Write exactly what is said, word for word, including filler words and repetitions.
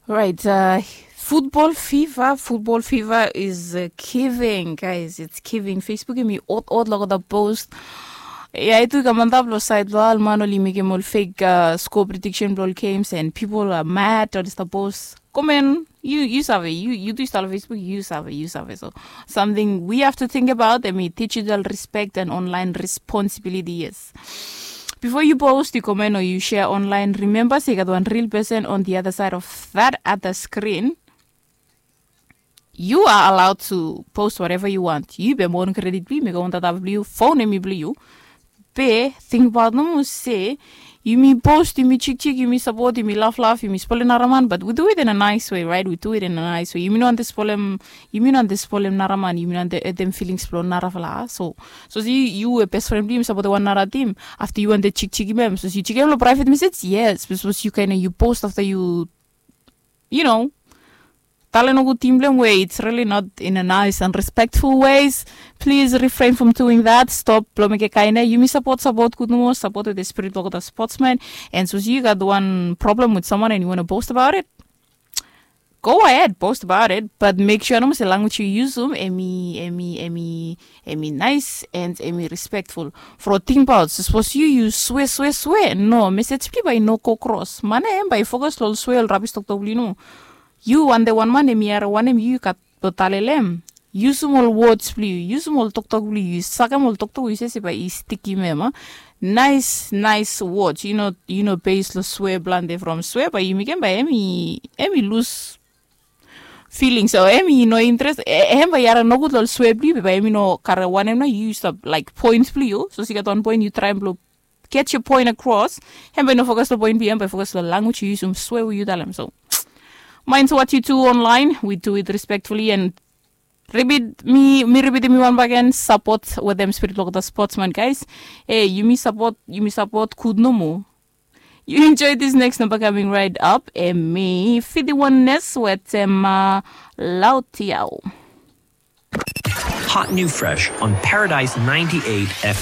Right, uh, football fever, football fever is uh, giving, guys, it's giving. Facebook yumi ot ot logo the post. Ya itu i kam antap lo side lo alman oli mekim ol fake uh, score prediction blo ol games and people are mad on the post. Komen, you you save, you you do start Facebook, you save, you save. So something we have to think about, I mean, digital respect and online responsibility, yes. Before you post, you comment or you share online, remember se i gat wan real person on the other side of that other screen. You are allowed to post whatever you want. Yu be mon kredit bli yu, mi go on data bli yu, phone emi bli yu. Be tingbaot nomo se yumi post, yumi chikchik, yumi sapot, yumi laflaf, yumi spolem naraman, but we do it in a nice way, right? We do it in a nice way. Yumi no ante spolem, yumi no ante spolem naraman, yumi no ante hetem feelings blo narafala. So, so se yu we best friend bli yu yumi sapot wan nara tim, afta yu ante chikchikim hem, so se yu chikim hem lo private message, yes, because yu kaen yu post afta yu you know, talem nogut tim blong hem we it's really not in a nice and respectful ways. Please refrain from doing that. Stop blo mekem kaen ia. Yumi sapot, sapot gud nomo, sapot wetem spirit blo olgeta sportsman. And sapos yu gat wan problem with someone and you wanna post about it, go ahead, post about it, but make sure nomo se language yu yusum emi emi emi emi nice and emi respectful. From tingbaot, sapos yu yu swe swe swe, no, message bli yu bae i no go cross. Man ia hem bae i focus lo ol swe, ol rabis toktok bli yu nomo. Yu wan de wan man emi harim wanem yu yu gat lo talem lo hem. Yusum ol words bli yu, yusum ol toktok bli yu, sakem ol toktok yu se se bae i stikim hem. Nice nice words, yu no yu no base lo swe blanda from swe bae yu mekem bae emi emi lus feeling. So emi no interes, hem bae i harim nogud lo ol swe bli yu be bae emi no karem wanem nao yu stap laik point bli yu. So se i gat wan point yu traem blo get your point across. Hem bae i no focus lo point bli yu, hem bae i focus lo language yu yusum, swe we yu talem. So mind what you do online, we do it respectfully and repeat, mi mi repeat mi wan baken, sapot wetem spirit blo olgeta sportsman, guys. E yumi sapot, yumi sapot gud nomo. You enjoy this next number coming right up. Emi fiti wan nes wetem uh, Lautiao. Hot new fresh on Paradise ninety-eight F M.